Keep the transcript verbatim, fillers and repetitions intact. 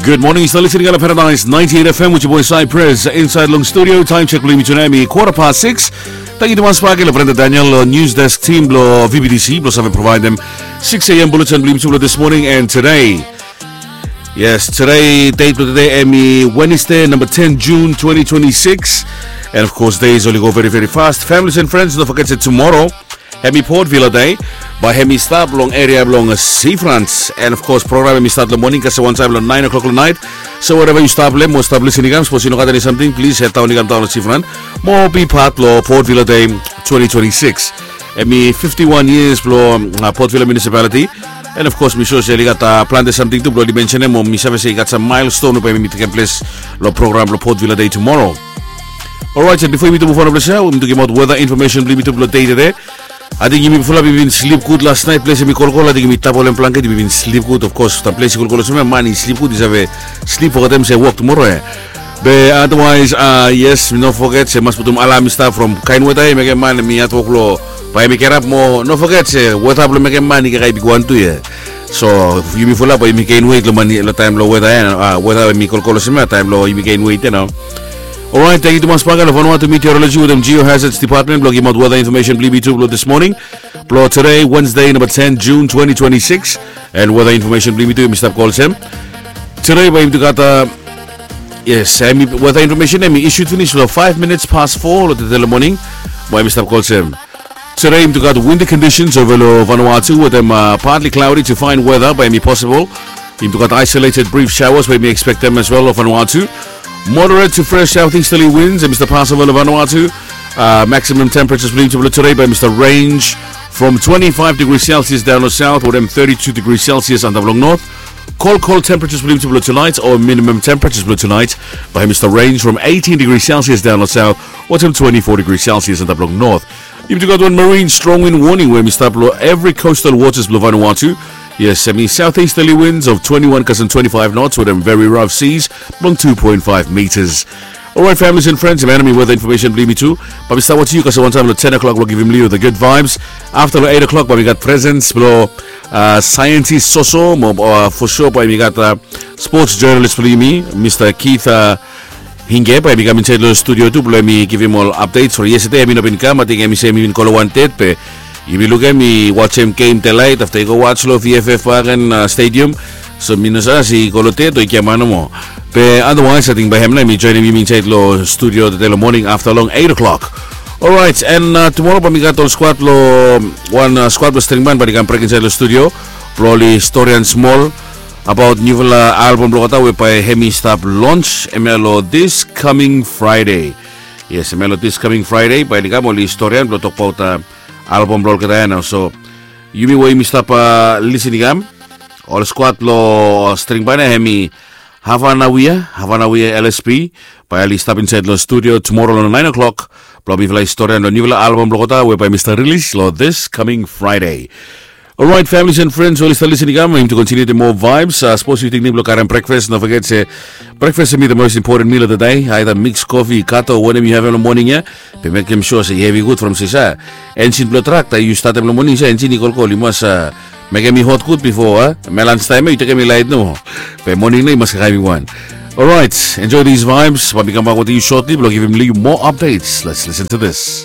Good morning, yu stap listening long Paradise ninety-eight F M with your boy Cypress inside long studio. Time check blong yumi today, mi quarter past six. Thank you tumas bak long Brenda Daniel, long news desk team blong V B T C blong save provide them six a.m. bulletin blong yumi tu blong this morning and today. Yes, today date blong today hemi Wednesday, number ten June twenty twenty-six. And of course, days only go very, very fast. Families and friends, don't forget that tomorrow hemi Port Vila Day. Bae hemi stap long eria blong Seafront. And of course, program hemi stat long moning kasem wantaem long nine o'clock long nait. So wherever yu stap long, mo stap listening kam, sapos yu no gat eni samting, plis hed daon i kam daon long Seafront mo bi pat blong Port Vila Day twenty twenty-six. Hemi fifty-one years blong uh, Port Vila Municipality. And of course, mi sua se oli gat uh, plante samting tu blong oli mensenem, mo mi save se i gat sam milestone we bae hemi tekem ples long program blong Port Vila Day tomorrow. Alright, and bifo yumi tu move on long ples ya, yumi tu gimaot weather information blong yumi tu blong dei tede. Ating yumi fulap i bin slip gud las nait, ples hemi kolkol, ating yumi tap ol hem blanket, yumi bin slip gud. Of course, afta ples i kolkol olsem ya, man i slip gud, i save slip, fogetem se wok tumoro ya. Be otherwise, uh, yes, no foget se mas putum alam i stap from kaen weta ya i mekem man hemi hatwok long bae hemi gerap mo no foget se weta blong mekem man i kakae bigwan tu ya. So yumi fulap bae yumi gain weight long man long taem long weta ya, uh, weta hemi kolkol olsem ya, taem long yumi gain weight ya nao. Alright, tangkiu tumas bak long Vanuatu Meteorology wetem Geohazards Department blong gimaot weather information blong yumi tu blong this morning. Blong today, Wednesday, number ten June twenty twenty-six. And weather information blong yumi tu, yumi stap go olsem. Today bae yumi tu gat uh, yes, hemi weather information hemi issued finis long five minutes past four long tede long moning. Bae yumi stap go olsem. Today yumi tu gat windy conditions over long Vanuatu wetem uh, partly cloudy to fine weather bae hemi possible. Yumi tu gat isolated brief showers bae yumi expectem as well long Vanuatu. Moderate to fresh southeasterly winds hemi stap pass over long Vanuatu. Uh, maximum temperatures blong yumi tu blong today bae hemi stap range from twenty-five degrees Celsius daon long south wetem thirty-two degrees Celsius antap long north. Cold, cold temperatures blong yumi tu blong tonight, or minimum temperatures blong tonight bae hemi stap range from eighteen degrees Celsius daon long south wetem twenty-four degrees Celsius antap long north. Yumi tu gat wan marine strong wind warning we hemi stap long every coastal waters blong Vanuatu. Yes, hemi southeasterly winds of twenty-one kasem twenty-five knots wetem very rough seas blong two point five meters. Alright, families and friends, hemia nao hemi weather information blong yumi tu. Bae mi stap wajem yu kasem wantaem long ten o'clock blong givim yu the good vibes. Afta long eight o'clock bae mi gat presence blong uh, scientist Soso mo uh, for sure bae mi gat uh, sports journalist blong yumi, Mr. Keith uh, Hinge, bae hemi kam insaed long studio tu blong hemi givim ol updates from yesterday. Hemi no bin kam, ating hemi se hemi bin go long wan date, be yumi lukim hemi wajem game delaet afta i go waj long V F F Park and uh, Stadium. So mi no save se i go long date o i giaman nomo. Be otherwise ating bae hem nao hemi joenem yumi insaed long studio tede long moning afta long eight o'clock. Alright, and uh, tumoro bae mi gat ol squad long wan uh, squad blong Stringban bae oli kam brek insaed long studio blong oli storian smol abaot niufala album blong olgeta we bae hemi stap launch hemia long this coming Friday. Yes, hemia long this coming Friday bae oli kam oli storian blong tokbaot uh, album blong olgeta ya nao. So yumi we yumi stap uh, listening kam, ol squad blong uh, Stringban ya hemi Havanawia, Havanawia L S P. Bae oli stap insaed long studio tumoro long nine o'clock blong mifala i storian long niufala album blong olgeta we bae hemi stap rilis long this coming Friday. Alright, families and friends, we oli stap listening kam, yumi tu kontiniutim moa vibes. Uh, sapos yu tingting blong karem breakfast, no foget se breakfast hemi the most important meal of the day. Aida mix coffee, kato, wanem yu havem long moning ya, be mekem sua se i hevi gud from sisa. Enjin blong trak taem yu statem long moning se enjin i kolkol, yu mas uh, mekem i hot gud bifo uh, hemia lunch taem ya yu tekem i laet nomo. Be moning nao i mas kakae bigwan. Alright, enjoy these vibes. Bae mi kambak wetem yu shortly blong givim yu moa updates. Let's listen to this.